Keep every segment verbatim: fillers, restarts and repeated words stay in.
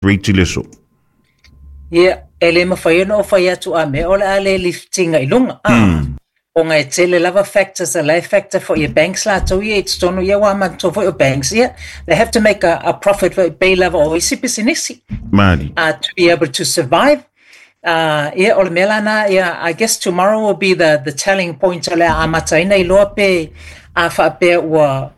Rate i le aso. Ia, e le mafai ona ou fai atu a mea o le a le liftiga i luga. Ah, ona e tele lava factors a la e factor foi e banks latou ia i totonu ia ua manatua foi o banks ia they have to make a, a profit foi pei lava o isi pisinisi Mali. uh, to be able to survive. Uh, ia, o le mea lana, ia, I guess tomorrow will be the, the telling point o le a amataina iloa pe a faapea ua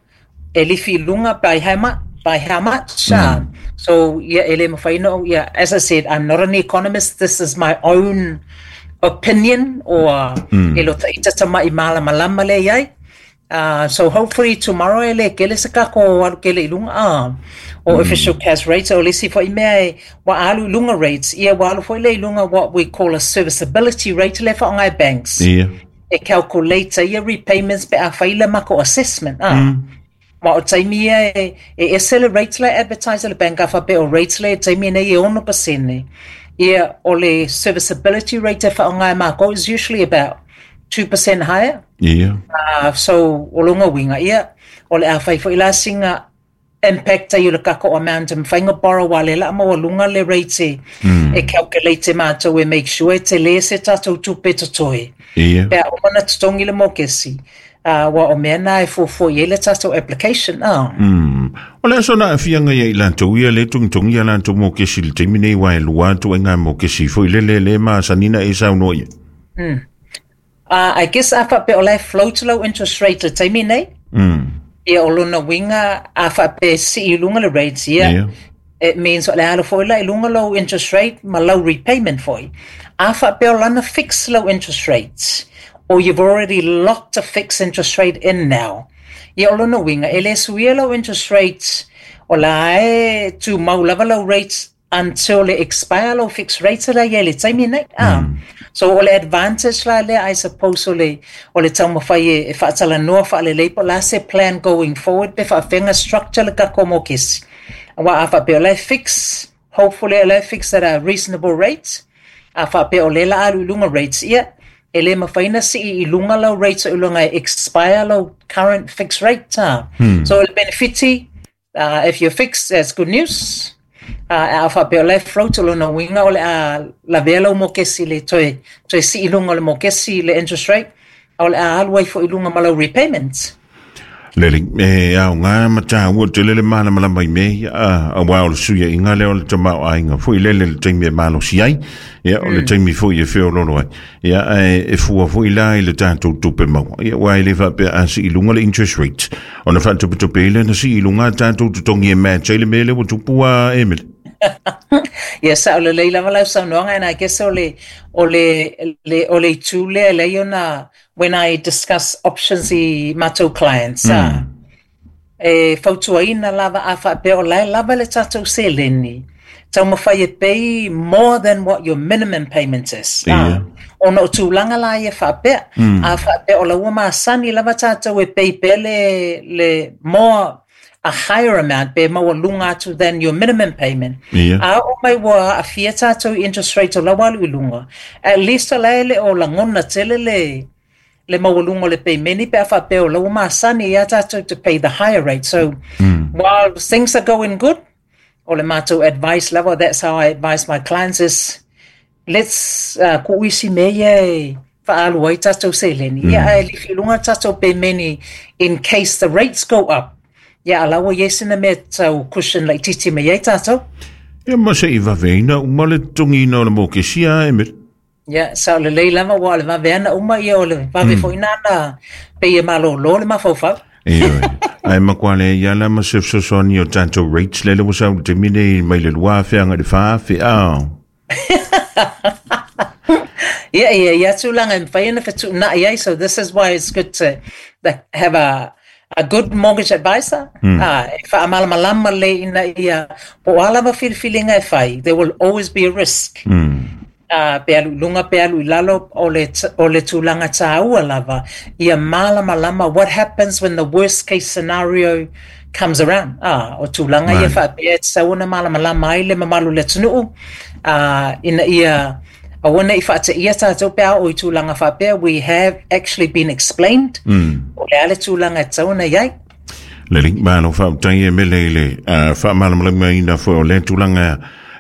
e lifi i luga by how much, by how much. Uh, so, yeah, e le mafai ona, yeah, as I said, I'm not an economist. This is my own opinion or mm. e lo ita tama'i malamalama le iai. Uh, so hopefully tomorrow e le kele se kako alu kele i lunga ah, o official cash rates o le isi foi mea e wa alu i lunga rates ia wa alu foi le i lunga what we call a serviceability rate le whaongai banks Ia. e calculate ia repayments pe a whaila mako assessment ah. Mm. Ma o taimi ia e, e ese le rate le advertise le bank a whape o rates le taimi nei e ono pasene. Ia o le serviceability rate e whaongai mako is usually about two percent higher. Ia. Uh, so o lunga winga ia o le a whai fo ila singa impact ai o le kako amount e whainga borrow wa le la ma lunga le rate mm. e calculate mātou e make sure te le se tātou tupe totoe. Ia. Pea o mana totongi le mokesi. Uh, wa o mea nā e fuafua i ai le tātou application. Ah. Mm. O le aso na afianga ia i lantou ia le tungitungi ia lantou mokesi le taimi nei wa e lua atu e ngā mokesi foi le le le ma sanina e saunoa ia. Uh, I guess a whape o le float low interest rate le taimi nei. Mm. Ia o lona winga a whape si i lunga le rates ia. Ia. It means o le alo foi la i lunga low interest rate ma low repayment foi. A whape o lana fixed low interest rates or you've already locked a fixed interest rate in now. Ia o lona winga e le suia low interest rates o la e tu mau lava low rates until le expire low fixed rates la ia le taimi nei. Ah. So o le advantage la le I suppose o le o le taumafai e, e whaatalanoa whaalelei po la se plan going forward pe whaawhenga structure le kako mokesi. Wa a whape o le fix, hopefully o le fix at a reasonable rate. A whape o le la alu i lunga rates ia e le mawhaina si i lunga lau rates o lunga e expire lau current fixed rate. Ah. So o le benefiti, uh, if you're fixed, that's good news. Uh, a whape o le float o lona winga o le a la vela o mokesi le toe, toe si i lunga o le mokesi le interest rate o le a alu ai fo i lunga ma lau repayments. Lele, e au ngā mata ua te lele mana mala mai me a a wā o le suia i ngā leo o le tamau ainga foi lele le taimi e malo si ai ia o le taimi foi e feo lolo ai ia e, e fua foi la i le tātou tupe maua ia wā i le whapea a si i lunga le interest rate ona whaatupe tupe i le na si i lunga tātou tutongi e match ai le mele ua tupu a Emily. Ia sa o le lei lava lau saunoaga and I guess o le o le le o le itu lea lei ona when I discuss options i matou clients mm. ah, e fautuaina lava a faapea o lae lava le tatou seleni taumafai e pay more than what your minimum payment is. Ia. Ah, ona o tulaga la ia faapea mm. a faapea o laua masani lava tatou e pay pea le, le more a higher amount pe maualuga atu than your minimum payment. Ia. A o mai ua aafia tatou i interest rate o lau alu i luga. At least o lae le o lagona tele le le maualuga o le peimeni pe a faapea o lau masani ia tatou to pay the higher rate. So mm. while things are going good, o le matou advice lava, that's how I advise my clients is let's uh, ku'uisi mea ia e fa'aalu ai tatou seleni. Ia ae lifi i luga tatou peimeni in case the rates go up. Ia alaua ia sina mea tau cushion laitiiti mai ai tatou. Ia ma se i vaveina uma le tongina o le mokesi a Emily. Ia, sa o le lei lava ua o le vaveana uma ia o le vave mm. foi nana pe ia malōlō le mafaufau. Ioe. Ai makua le ia la ma se fesoasoani o tātou rates lele ua sau le taimi nei mai le lua afe aga le wha afe a. Ia, ia, ia tulaga e mafai ona fetuunai ai, so this is why it's good to like, have a a good mortgage advisor. Mm. Ah, e faamalamalama le ina ia po o a lava filifiliga e fai, there will always be a risk. Mm. Uh, pe alu i luga pe alu i lalo o le, t- o le tulaga tāua lava ia malamalama what happens when the worst case scenario comes around. Ah, o tulaga ia Mai. faapea e tatau ona malamalama ai le mamalu o le atunuu uh, ina ia aua ne i faateia tatou pe a o i tulaga faapea we have actually been explained Mm. o le a le tulaga e tatau ona i ai. Lele, malo faafetai e mele i le uh, faamalamalamaina foi o le tulaga.